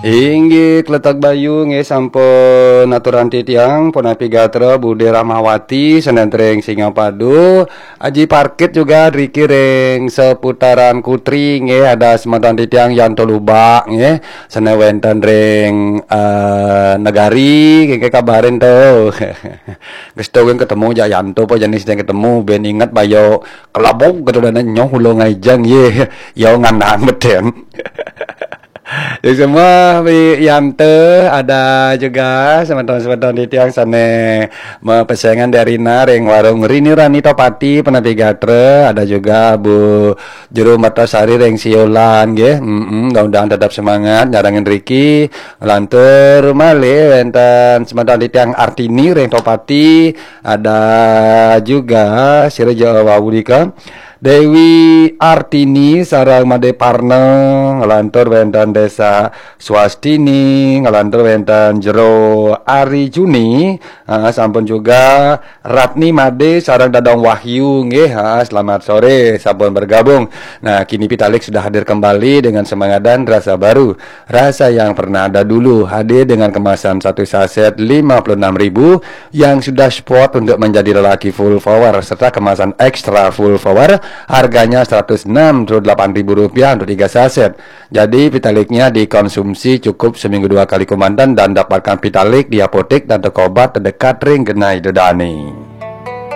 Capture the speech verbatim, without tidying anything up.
Inggih, Kletek Bayu nggih sampun aturan titiang, punapi gatra Bude Rahmawati, senen ring Singapadu, Aji Parkit juga driki ring seputaran Kutri nggih, ada semeton titiang Yanto Lubak nggih, senen wenten ring, eh, Negari, nggih kabarin to. Gestu nggih ketemu jak Yanto apa jenis yang ketemu, ben inget bayo kelabuk gitu dan nyoh ulo ngaijang ye, yo nganang beten. Ya semua Wi Yante, ada juga semeton-semeton titiang sane mepesengan dari Rina ring warung Rini Rani Topati Penapi Gatra, ada juga Bu Juru Mertasari ring Siolan nggih. Mm-mm, mudah-mudahan tetap semangat nyarengin riki. Lantur malih wenten semeton titiang Artini ring Topati, ada juga sira Jawa Wawulika. Dewi Artini sareng Made Parna, nglantur wenten Desa Swastini, nglantur wenten Jero Ari Juni, ha, sampun juga Ratni Made sareng Dadong Wahyu nggih, ha, selamat sore, sampun bergabung. Nah, kini Pitalik sudah hadir kembali dengan semangat dan rasa baru. Rasa yang pernah ada dulu hadir dengan kemasan satu saset lima puluh enam ribu yang sudah spot untuk menjadi lelaki full power serta kemasan extra full power, harganya seratus enam puluh delapan ribu rupiah untuk tiga saset. Jadi Pitaliknya dikonsumsi cukup seminggu dua kali komandan dan dapatkan Pitalik di apotek dan toko obat terdekat ring genai dedani.